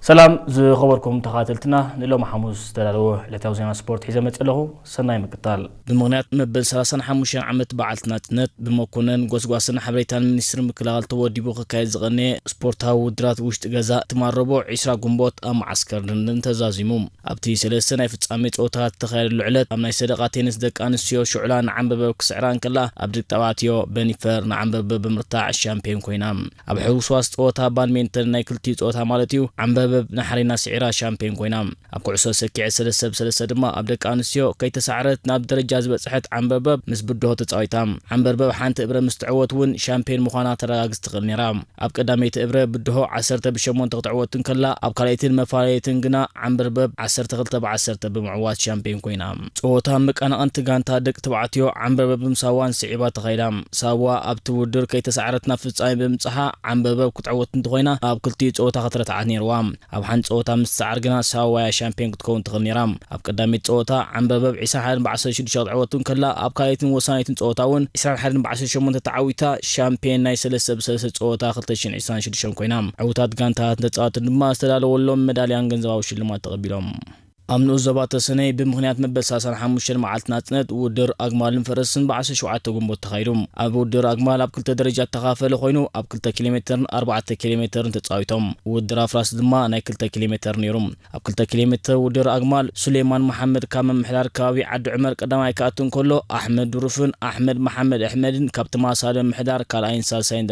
ሰላም ዝኸበርኩም ተኸታተልትና፣ ንሎሚ ሓሙስ ዝተዳለወ ዕለታዊ ዜና ስፖርት ሒዘ መፅእ ኣለኹ። ሰናይ ምክታል። ብምኽንያት መበል ሰላሳን ሓሙሽተን ዓመት በዓልቲ ናፅነት ብመኮነን ጎስጓስን ሓበሬታን ሚኒስትሪ ምክልኻል ተወዲቡ ክካየድ ዝቐነየ ስፖርታዊ ውድድራት ውሽጢ ገዛ ትማል ረቡዕ ዕስራ ግንቦት ኣብ መዓስከር ድንድን ተዛዚሙ። ኣብቲ ሰለስተ ናይ ፍጻሜ ፀወታታት ዝተኻየደሉ ዕለት ኣብ ናይ ሰደቓ ቴኒስ ደቂ ኣንስትዮ ሽዑላ ንዓንበበብ ክስዕራ እንከላ ኣብ ደቂ ተባዕትዮ በኒፈር ንዓንበበብ ብምርታዕ ሻምፒዮን ኮይና። ኣብ ሕውስዋስ ጸወታ ባድሚንተን ናይ ክልቲኡ ጸወታ ማለት እዩ፣ ዓምበበብ ናሕሪና ስዒራ ሻምፒዮን ኮይና። ኣብ ኩዕሶ ሰኪዐት ሰለስተ ብ ሰለስተ ድማ ኣብ ደቂ ኣንስትዮ ከይተሳዕረት ናብ ደረጃ ዝበጽሐት ዓምበበብ ምስ ብድሆ ተጻዊታ። ዓምበርበብ ሓንቲ እብረ ምስ ትዕወት እውን ሻምፒዮን ምዃና ተረጋግጽ ትኽእል ነይራ። ኣብ ቀዳመይቲ እብረ ብድሆ ዓሰርተ ብ ሸሞንተ ክትዕወት እንከላ፣ ኣብ ካልኣይትን መፈላለይትን ግና ዓምበርበብ ዓሰርተ ክልተ ብ ዓሰርተ ብምዕዋት ሻምፒዮን ኮይና። ጸወታ መቃናቐንቲ ጋንታ ደቂ ተባዕትዮ ዓምበርበብን ሳዋን ስዒባ ተኻይዳ። ሳዋ ኣብቲ ውድድር ከይተሳዕረት ናብ ፍጻሜ ብምብጽሓ ዓምበበብ ክትዕወት እንተኾይና፣ ኣብ ክልቲኡ ጸወታ ክትረትዓት ነይርዋ። ኣብ ሓንቲ ጸወታ ምስ ትሰዓር ግና ሳዋ እያ ሻምፒዮን ክትከውን ትኽእል ነይራ። ኣብ ቀዳመይቲ ጸወታ ዓምበበብ ዕስራን ሓደን ብ ዓሰርተ ሽዱሽተ ክትዕወት እንከላ፣ ኣብ ካልኣይትን ወሳኒትን ጸወታ እውን ዕስራን ሓደን ብ ዓሰርተ ሸሞንተ ተዓዊታ ሻምፒዮን ናይ ሰለስተ ብ ሰለስተ ጸወታ ክልተ ሽሕን ዕስራን ሽዱሽተን ኮይና። ዕዉታት ጋንታታትን ተጻወትን ድማ ዝተዳለወሎም መዳልያን ገንዘባዊ ሽልማት ተቐቢሎም። ኣብ ንኡስ ዞባ ተሰነይ ብምኽንያት መበል ሰላሳን ሓሙሽተን መዓልቲ ናጽነት ውድድር ኣግማልን ፈረስን ብ ዓሰርተ ሸውዓተ ግንቦት ተኻይዱ። ኣብ ውድድር ኣግማል ኣብ ክልተ ደረጃ እተኻፈለ ኮይኑ፣ ኣብ ክልተ ኪሎ ሜተርን ኣርባዕተ ኪሎ ሜተርን ተጻዊቶም። ውድድር ኣፍራስ ድማ ናይ ክልተ ኪሎ ሜተር ነይሩ። ኣብ ክልተ ኪሎ ሜተር ውድድር ኣግማል ሱሌማን መሓመድ ካብ ምምሕዳር ከባቢ ዓዲ ዑመር ቀዳማይ ክኣቱ እንከሎ፣ ኣሕመድ ዱሩፍን ኣሕመድ መሓመድ ኣሕመድን ካብ ተመሳሳሊ ምምሕዳር ካልኣይን ሳልሳይን ደረጃ